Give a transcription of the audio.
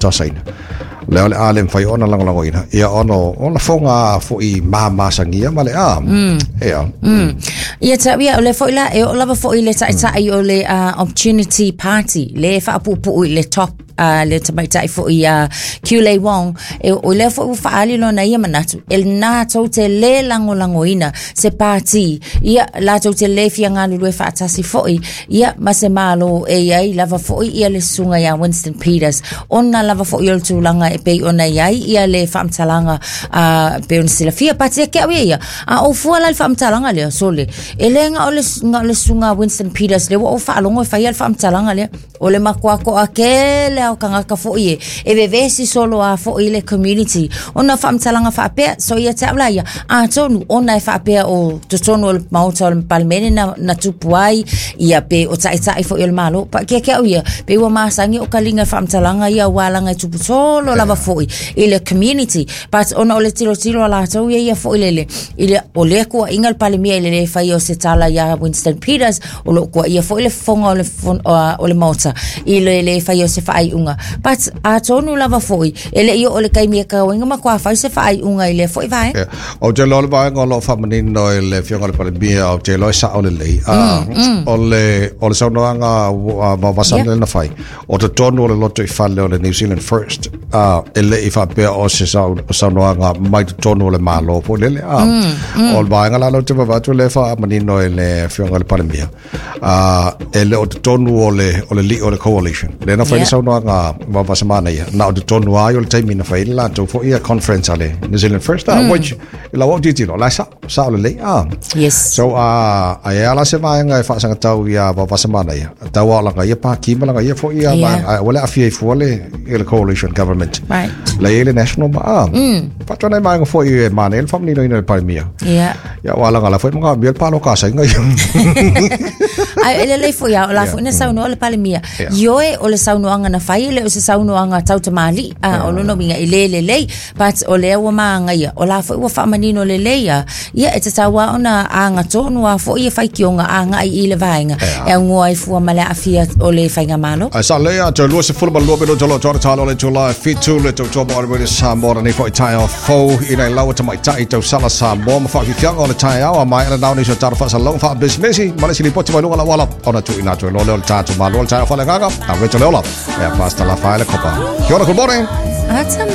tausasaina lea o le a le mafai ona lagolagoina ia ona o lafoga fo'i mamasagia ma le a ia. Ia tau ia o le foi la e oo lava foi i le ta'ita'i o le Opportunity Party le faapuupuu i le top le tamaitai foi a Kiulei Wong e o lea foi ua faaali lona ia manatu e latou te lē lagolagoina se pati ia latou te lē fia galulue faatasi foi ia ma se Malo e iai lava foi ia le susuga iā Winston Peters ona lava foi o le tulaga e pei ona iai ia le faamatalaga a pei ona silafia pati ia ke au ia ia a ou fua la i le faamatalaga lea sole e le na o le na o le susuga Winston Peters lea ua ou faalogo e faia le faamatalaga lea o le matua toatele a o tagata foi e e vevesi solo a foi le community ona faamatalaga faapea so ia te au la ia atonu ona e faapea o totonu o le maota o le palemene na, na tupu ai ia pe o ta'ita'i foi o le Malo pa kia ke au ia pe ua masani o kaliga faamatalaga ia ua laga e tupu solo lava foi i le community but ona o le tilotilo a latou ia ia foi lele i le o lea kuaʻiga le Palemia i le lē fai o se tala iā Winston Peters o loo kuaʻia foi le fofoga o le o le maota i le lē fai o se faaiuga but atonu lava foi e leʻi oo le taimi e tauaiga matua fai se faaiuga i lea foi vaega. Yeah. Ou te iloa le vaega o lo o faamanino e le Afioga i le Palemia, ou te iloa e sa'o lelei. O le, o le saunoaga a Vaovasa lea na fai, o totonu o le lotoifale o le New Zealand First, e le i faapea o se saunoaga mai totonu o le Malo foi lele. O le vaega la lea ou te vaavaai atu lea e faamanino e le Afioga i le Palemia, e le o totonu o le, o le lii o le coalition. Lea na fai le saunoaga Vaovasa manaia, na o totonu ai o le taimi na fai le latou foi ia conference a le New Zealand First, which, i lau au tilotilo, la e sa'o, sa'o lelei. Yes. So, ai a la se vaega e faasagatau iā Vaovasa manaia, tau ao laga ia pāti ma laga ia foi ia vaega, ae ua le aafia ai fua le, i le coalition government. La i ai le national ma, faatoa nai vaega foi e manaia le faamaninoina e le Palemia. Ia aua laga la foi manaomia le pāloka a Saina ia. Ae e lelei foi a o la foi na saunoa le Palemia. Ioe o le saunoaga na fai e le o se saunoaga tau tamalii a o lona uiga e le lelei but o lea ua magaia o la foi ua faamanino lelei a ia e tatau a ona agatonu a foi e faitioga agai i le vaega e augoa ai fua ma le aafia o le faigamalo. Ae sa lea toe 22 minute o lo toa talo le itula e 7 le tautua mo le Samoa nei foi taeao fou i nai laua tamaitai tausala Samoa ma faafiafiaga o le taeao a maea lenao nisi o tatou faasalalauga faapisinisi ma le isi lipoti mai luga o le auala ona tuuina atu ai loa lea o le tatou malo o le taeao faaleagaga a Rachel Leola e a Pastor Lafaele Kopa. Kia ora, good morning. Ata.